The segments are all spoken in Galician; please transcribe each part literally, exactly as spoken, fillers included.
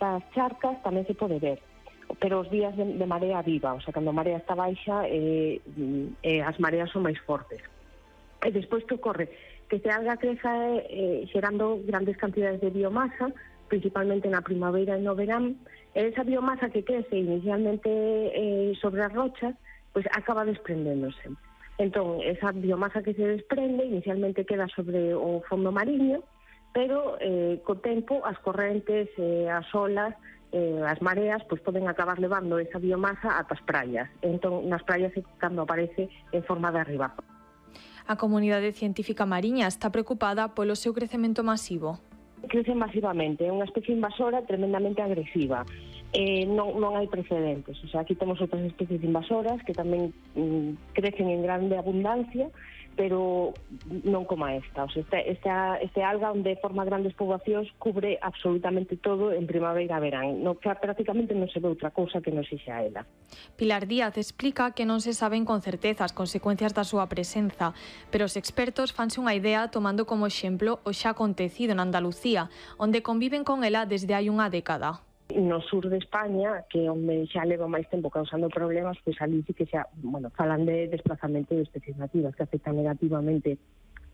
das charcas tamén se pode ver, pero os días de, de marea viva, o sea, cando a marea está baixa, eh, eh, as mareas son máis fortes. E despois que ocorre? Que se alga creza eh, xerando grandes cantidades de biomasa, principalmente na primavera e no verán, e esa biomasa que crece inicialmente eh, sobre as rochas, pois acaba desprendéndose. Entón, esa biomasa que se desprende inicialmente queda sobre o fondo mariño, pero eh, co tempo as correntes, eh, as olas, eh, as mareas, pois poden acabar levando esa biomasa ata as praias. Entón, nas praias é cando aparece en forma de arriba. A comunidade científica mariña está preocupada polo seu crecemento masivo. Crece masivamente, é unha especie invasora tremendamente agresiva. Eh, non, non hai precedentes, o sea, aquí temos outras especies invasoras que tamén mm, crecen en grande abundancia, pero non como esta. O sea, este, esta, este alga onde forma grandes poboacións cubre absolutamente todo en primavera e verán. No, prácticamente non se ve outra cousa que non sexa ela. Pilar Díaz explica que non se saben con certeza as consecuencias da súa presenza, pero os expertos fanse unha idea tomando como exemplo o xa acontecido en Andalucía, onde conviven con ela desde hai unha década. No sur de España, que onde xa leva máis tempo causando problemas, pois ali sí que xa, bueno, falan de desplazamento de especies nativas que afectan negativamente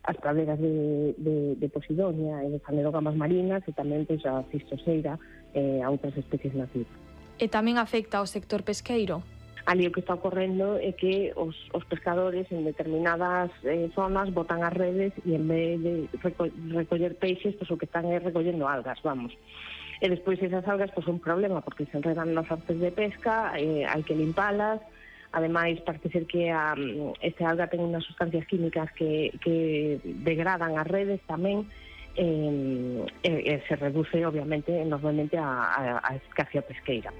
as praderas de, de, de Posidonia e de fanerógamas marinas e tamén pois a cistoseira e a outras especies nativas. E tamén afecta ao sector pesqueiro? Ali o que está ocorrendo é que os, os pescadores en determinadas eh, zonas botan as redes e en vez de reco recoller peixes, pois o que están é recollendo algas, vamos. E despois esas algas pois, son un problema porque se enredan nas artes de pesca, eh, hai que limpalas. Ademais, parece ser que a, este alga ten unhas sustancias químicas que, que degradan as redes tamén, eh, e, e se reduce obviamente enormemente a, a, a eficacia pesqueira.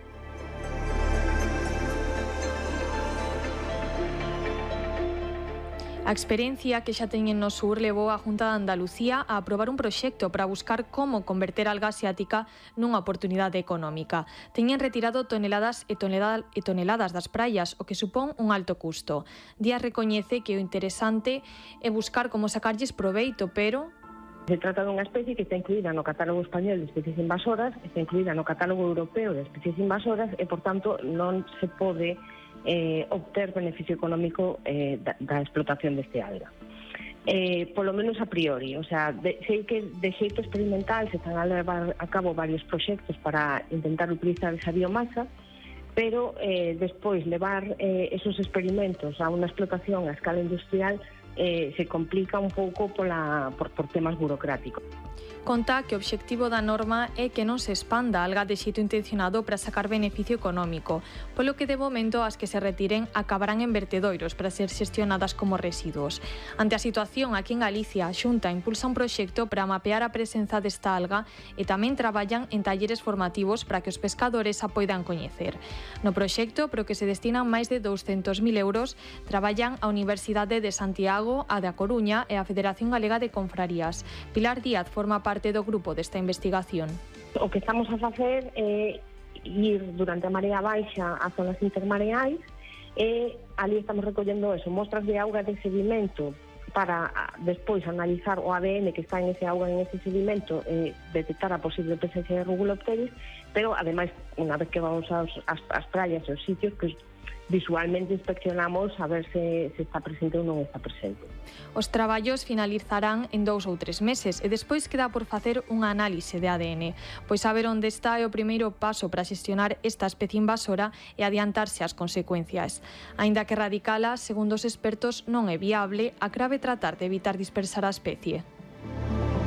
A experiencia que xa teñen no sur levou a Junta de Andalucía a aprobar un proxecto para buscar como converter a alga asiática nunha oportunidade económica. Teñen retirado toneladas e, tonelada, e toneladas das praias, o que supón un alto custo. Díaz recoñece que o interesante é buscar como sacarlles proveito, pero... Se trata dunha especie que está incluída no catálogo español de especies invasoras, está incluída no catálogo europeo de especies invasoras e, por tanto, non se pode eh, obter beneficio económico eh, da, da explotación deste alga. Eh, polo menos a priori, o sea, de, sei que de xeito experimental se están a levar a cabo varios proxectos para intentar utilizar esa biomasa, pero eh, despois levar eh, esos experimentos a unha explotación a escala industrial eh, se complica un pouco pola, por, por temas burocráticos. Conta que o obxectivo da norma é que non se expanda a alga de xeito intencionado para sacar beneficio económico, polo que de momento as que se retiren acabarán en vertedoiros para ser xestionadas como residuos. Ante a situación, aquí en Galicia, a Xunta impulsa un proxecto para mapear a presenza desta alga e tamén traballan en talleres formativos para que os pescadores a poidan coñecer. No proxecto, pro que se destinan máis de douscentos mil euros, traballan a Universidade de Santiago, a da Coruña e a Federación Galega de Confrarías. Pilar Díaz forma parte do grupo desta investigación. O que estamos a facer é ir durante a marea baixa a zonas intermareais e ali estamos recollendo eso, mostras de auga de sedimento para despois analizar o A D N que está en ese auga, en ese sedimento e detectar a posible presencia de Rugulopteris, pero ademais, unha vez que vamos aos, as, as praias e os sitios, pues, visualmente inspeccionamos a ver se, se está presente ou non está presente. Os traballos finalizarán en dous ou tres meses e despois queda por facer unha análise de A D N, pois saber onde está é o primeiro paso para xestionar esta especie invasora e adiantarse ás consecuencias. Aínda que radicala, segundo os expertos, non é viable, a grave tratar de evitar dispersar a especie.